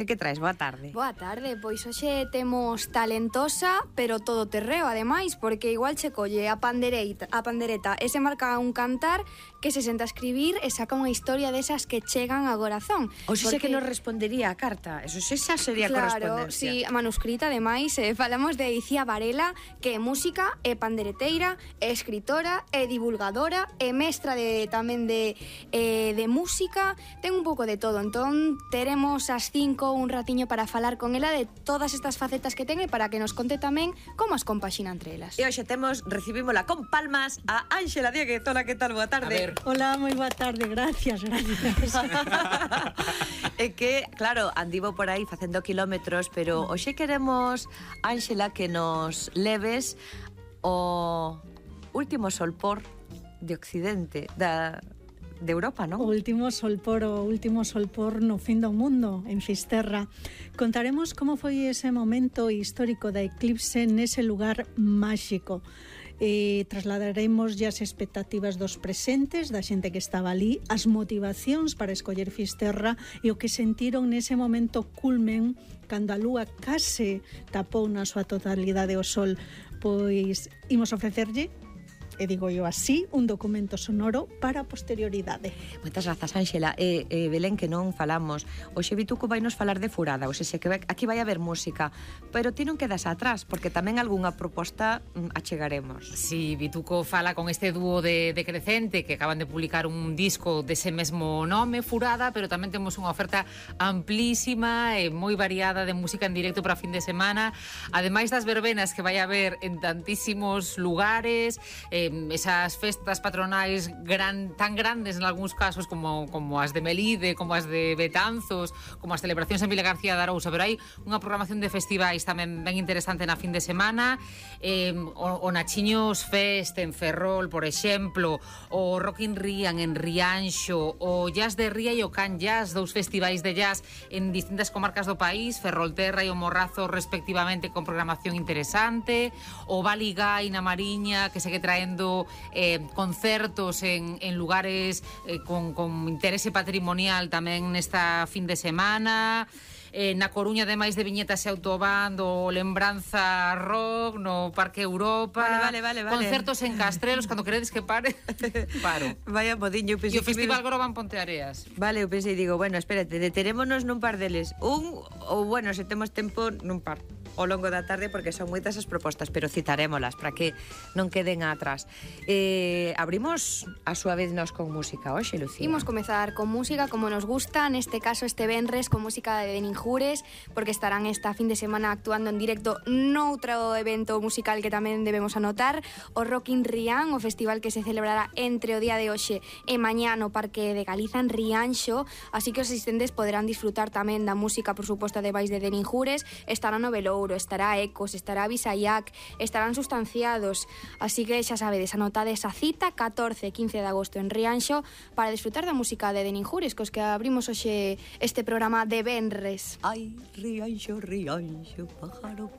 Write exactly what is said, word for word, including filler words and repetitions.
E que traes? Boa tarde. Boa tarde, pois hoxe temos talentosa, pero todo terreo, ademais, porque igual che colle a pandereita, a pandereta e se marca un cantar que se senta a escribir e saca unha historia desas que chegan ao corazón. O xe porque... que nos respondería a carta, eso xa sería claro, correspondencia. Si, manuscrita, ademais, eh, falamos de Icía Varela, que é música, é pandereteira, é escritora, é divulgadora, é mestra de tamén de, eh, de música, ten un pouco de todo. Entón, teremos as cinco un ratiño para falar con ela de todas estas facetas que ten e para que nos conte tamén como as compaxina entre elas. E hoxe temos, recibímola con palmas a Ánxela Dieguez. Hola, que tal? Boa tarde. Hola, moi boa tarde, gracias, gracias. É que, claro, andivo por aí facendo kilómetros, pero hoxe queremos, Ánxela, que nos leves o último solpor de Occidente, da... de Europa, non? O último solpor, o último solpor no fin do mundo, en Fisterra. Contaremos como foi ese momento histórico da eclipse nese lugar máxico. E trasladaremos as expectativas dos presentes, da xente que estaba ali, as motivacións para escoller Fisterra e o que sentiron nese momento culmen cando a lúa case tapou na súa totalidade o sol. Pois imos ofrecerlle, e digo eu así, un documento sonoro para a posterioridade. Moitas grazas, Ánxela. E, e Belén, que non falamos, hoxe Vituco vai nos falar de Furada, ou seja, que vai, aquí vai haber música, pero ti non quedas atrás, porque tamén algunha proposta mm, achegaremos. Sí, Vituco fala con este dúo de, de Crecente, que acaban de publicar un disco dese mesmo nome, Furada, pero tamén temos unha oferta amplísima e moi variada de música en directo para fin de semana, ademais das verbenas que vai haber en tantísimos lugares, eh, esas festas patronais gran, tan grandes en algúns casos como, como as de Melide, como as de Betanzos, como as celebracións en Vila García de Arousa, pero hai unha programación de festivais tamén ben interesante na fin de semana, eh, o, o Nachiños Fest en Ferrol, por exemplo, o Rock in Rian en Rianxo, o Jazz de Ría e o Can Jazz, dous festivais de jazz en distintas comarcas do país, Ferrolterra e o Morrazo respectivamente, con programación interesante, o Baligái na Mariña, que segue traendo Eh, concertos en, en lugares eh, con, con interese patrimonial tamén nesta fin de semana. Eh, na Coruña, ademais de viñetas e autobando, Lembranza Rock no Parque Europa. Vale, vale, vale, vale. Concertos en Castrelos, cando queredes que pare, paro. Vaya modiño. E o Festival Groban Ponteareas. Vale, eu pensei, digo, bueno, espérate, deterémonos nun par deles. Un, ou bueno, se temos tempo, nun par ao longo da tarde, porque son moitas as propostas, pero citarémolas para que non queden atrás. Eh, abrimos a súa vez nos con música hoxe, Lucía. Imos comezar con música como nos gusta, neste caso este venres con música de Deninjures, porque estarán esta fin de semana actuando en directo noutro evento musical que tamén debemos anotar, o Rock in Rian, o festival que se celebrará entre o día de hoxe e mañá no Parque de Galiza en Rianxo, así que os asistentes poderán disfrutar tamén da música, por suposto, de Vais de Deninjures. Estará no Velouro, estará Ecos, estará Visayac, estarán Sustanciados, así que xa sabedes, anotades a cita catorce e quince de agosto en Rianxo para disfrutar da música de Deninjures, cos que abrimos hoxe este programa de venres. Ai, Rianxo, Rianxo, pájaro